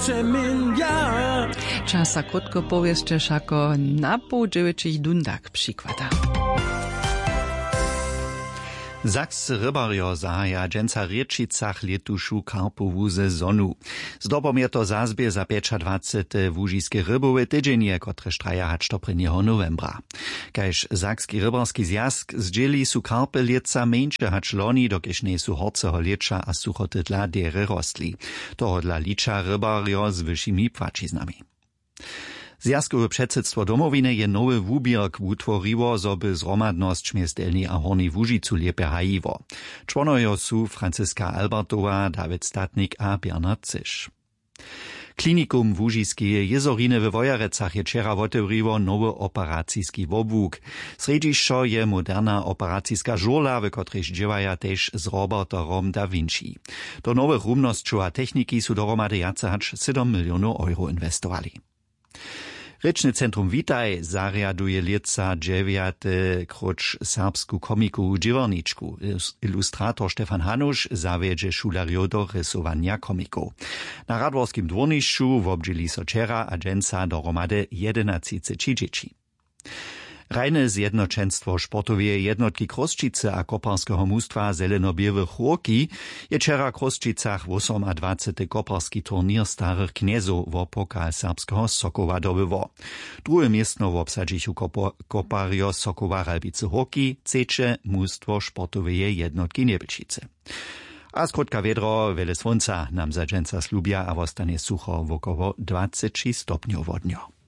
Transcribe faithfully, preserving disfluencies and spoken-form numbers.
Přeměnja. Časa krótko powěsće wšako na poł dźewjećich dundach přikłada. Sakscy rybarjo zahaja dźensa w rěčicach lětušu karpowu sezonu. Zdobom je to zazběh za pjećadwacete łužiske rybowe tydźenje, kotrež traja hač do prěnjeho nowembra. Kaž sakski rybarski zwjazk zdźěli, su karpy lětsa mjeńše hač loni, dokelž njejsu horceho lěća a suchoty dla derje rostli. Tohodla liča rybarjo z wyšimi płaćiznami. Zwjazkowe předsydstwo Domowiny je nowy wuběrk wutworiło, zo by zhromadnosć mjez Delnjej a Hornjej Łužicu lěpje hajiło. Čłonojo su Franciska Albertowa, Dawid Statnik a Bernard Cyš. Klinikum Łužiskeje jězoriny we Wojerecach je wčera wotewriło nowy operaciski wobłuk. Srjedźišćo je moderna operaciska žurla, w kotrejž dźěłaja tež z roboterom Da Vinci. Do nowych rumnosćow a techniki su dohromady wjace hač sydom milionow euro inwestowali. Rěčny centrum Witaj zarjaduje lětsa dźewjate króć serbsku komikowu dźěłarničku. Ilus-, ilustrator Stefan Hanuš zawjedźe šulerjow do rysowanja komikow. Na radworskim dwórnišću wobdźěli so wčera a dźensa dohromady jedenatřiceći dźěći. Hrajne zjednoćenstwo sportoweje jednotki Chrósćicy a koparskeho mustwa Zeleno-běłe Chórki je wčera w Chrósćicach wosomadwacety koparski turněr starych knjezow wo pokal serbskeho Sokoła dobyło. Druhe městno wobsadźichu kopo-, koparjo Sokoła Ralbicy Hórki, třeće mustwo sportoweje jednotki Njebelčicy. A skrótka wědro, wjele słónca nam za dźensa slubja a wostanje sucho wokoło dwaceći stopnjow wodnjo.